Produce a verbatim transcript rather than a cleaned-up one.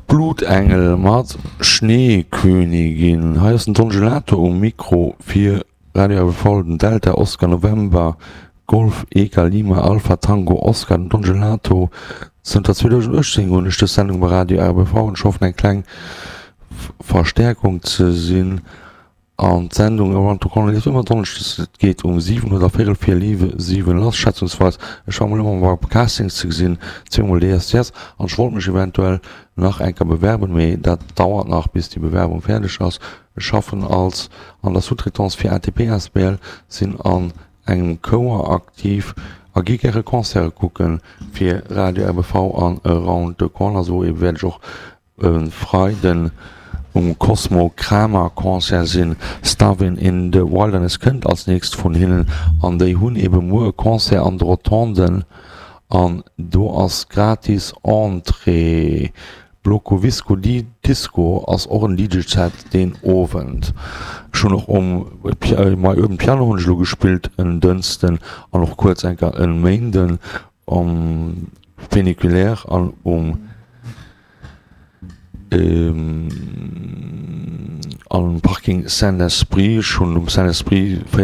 Blutengel mat Schneekönigin. Hei ass den Don Gelato um Mikro fir Radio R B V, den Delta Oscar November Golf Eka Lima Alpha Tango Oscar, den Don Gelato. Zënter zweedausendachtzéng hunn ech dës Sendung bei Radio R B V an ech hoffen, eng kleng Verstäerkung ze sinn. An d'Sendung Around the Corner leeft ëmmer donneschdes, et geet um siwen oder véierel vir siwen lass, schätzungsweis. Ech war mol ëmmer bei Castings ze gesinn, zweemol D S D S, an ech wollt mech eventuell nach eng Kéier bewerben, mee dat dauert nach, bis déi Bewerbung fäerdeg ass. Ech schaffen als an der Sous-traitance fir A T P A S B L, sinn an engem Chouer aktiv a gi gäre Concerte kucken fir Radio R B V an Around the Corner. Sou ebe wäert ech och e Freiden um Cosmo Kramer Concert sinn. Starvin' in the Wilderness kënnt als nächst vun hinnen an déi hunn ebe muer e Concert an de Rotonden an do ass gratis Entrée. Bloco Visco Di Disco ass och en D J Set deen Owend. Ech hunn och um My Urban Piano hunn ech elo gespillt en Dënschden an och kuerz eng Kéier en Méinden um Funiculaire an um am Parking Saint-Esprit. Ech hunn um Saint-Esprit véier